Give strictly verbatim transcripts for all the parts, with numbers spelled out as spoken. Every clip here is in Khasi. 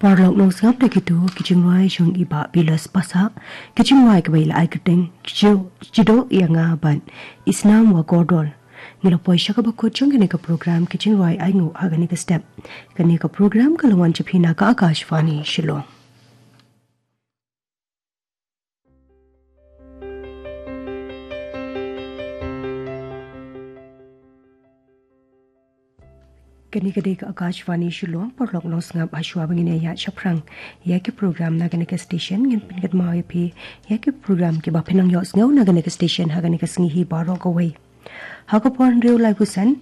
Paralok nongsngap, da kito ki jingrwai jong i Bah Bilas Pasa, ki jingrwai kiba i la ai kyrteng Jido Ianga bad Isnam Wa Gordol. Ngi la poi sha kaba kut jong kane ka program ki jingrwai ainguh ha kane ka step. Kane ka program ka la wan sha phi na ka Akashvani Shillong. Kane ka dei ka Akashvani Shillong. Paralok nongsngap, ha shuwa ba ngin ïa shaphrang ïa ki program na kane ka station, ngin pynkynmaw ïa phi ïa ki program kiba phin nang ïohsngew na kane ka station ha kane ka sngi hi baroh kawei. Ha ka por hynriew laiphew san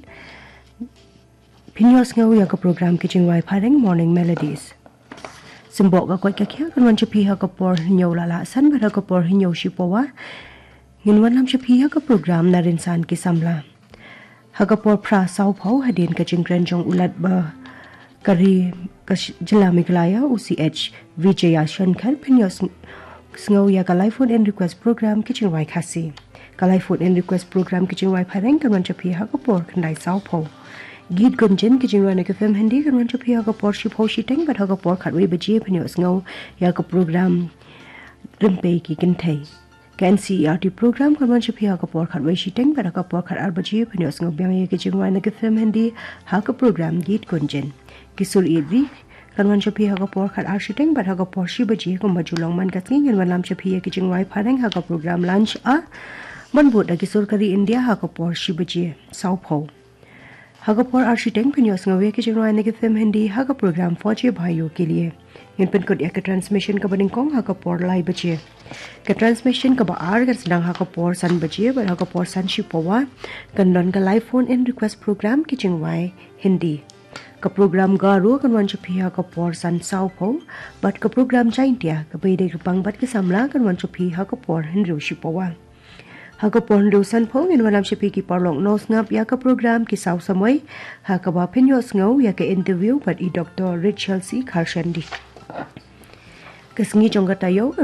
phin ïohsngew ïa ka program ki jingrwai phareng Morning Melodies. Symboh ka koit ka khiah kan wan sha phi ha ka por hynñiew la lah san bad ha ka por hynñiew shiphew wah ngin wanlam sha phi ha ka program Na Rynsan ki Samla. Ha ka por phra sawphew, hadien ka jingkren jong u Lat ba ka ri ka sh- jylla Meghalaya, u C H Vijaya Shankar, phin ïoh sng- sngew ïa ka live phone in request program ki jingrwai Khasi. Ka live phone in request program ki jingrwai phareng kan wan sha phi ha ka por khyndai sawphew. Geet Gunjan ki jingrwai na ki film Hindi kan wan sha phi ha ka por shiphew shiteng bad ha ka por khatwei baje phin ïoh sngew ïa ka program Rympei ki Kynthei. Ka N C E R T program kan wan sha phi ha ka por khatwei shiteng bad ha ka por khatar baje phin ïoh sngew biang ïa ki jingrwai na ki film Hindi ha ka program Geet Gunjan. Ki sur ïeit ri kan wan sha phi ha ka por khatar shiteng bad ha ka por shi baje kumba ju long man ka sngi ngin wanlam sha phi ïa ki jingrwai phareng ha ka program Lunch Hour ban bud da ki sur ka ri India ha ka por shi baje sawphew. Ha ka por ar shiteng phin ïoh sngew ïa ki jingrwai na ki film Hindi ha ka program Fauji Bhaiyon Ke Liye. Ngin pynkut ïa ka transmission kaba nyngkong ha ka por lai baje. Ka transmission kaba ar kan sdang ha ka por san baje bad ha ka por san shiphew wah kan don ka live phone in request program ki jingrwai Hindi. Ka program Garo kan wan sha phi ha ka por san sawphew bad ka program Jaintia kaba ïadei kyrpang bad ki samla kan wan sha phi ha ka por hynriew shiphew wah. Ha ka por hynriew sanphew ngin wanlam sha phi ki paralok nongsngap ïa ka program Ki Saw Samoi ha kaba phin ïoh sngew ïa ka interview bad i Doctor Rachel C Kharshendi. Ka sngi jong ka taïew